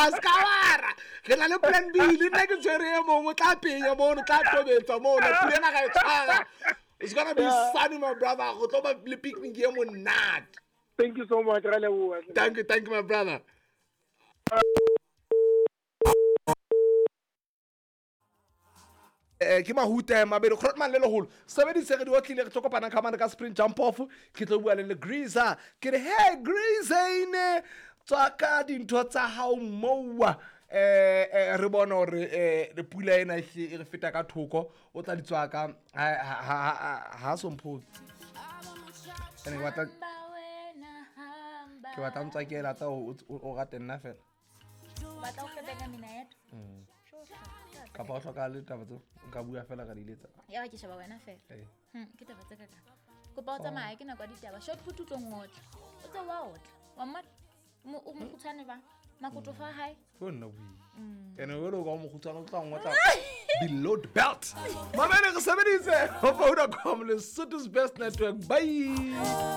A se ka wara. Re na le plan B, le nna ke tshwere e mongwe, o tla penya mono, o tla tobetsa mono, pula ena ga e tshwara. It's gonna be sunny, my brother. Go tlo ba le picnic e monate. Thank you so much, ra leboha. Thank you, thank you, my brother. Eh, ke mahuta mabedi grotman le legolo sebedise re di otlile re tlo kopana ka mane ka sprint jump off ke tlo bua le le greaser ke re hey greasane tswa ka dintho tsa hao mowa eh, eh re bone gore eh pula ena e e re feta ka thoko o tla di tswa ka ha somphotse ene ke batla ke batla ntswa ke elata o rate nna fela batla o febeka mina yedwa kapa o hloka le taba tseo nka bua fela ka diletsa ya ke sheba wena fela Ee. Ke taba tse kaka kopa o tsamaye ke nako ya ditaba short put o tlo ngotla o tse wa otla wa mmona o mokgutshwane ba makoto fa hae ke nna bui ene o le o ka o mokgutshwane o tla ngotla below the belt mamele re sebeditse ho Vodacom Lesotho's best network. Bye.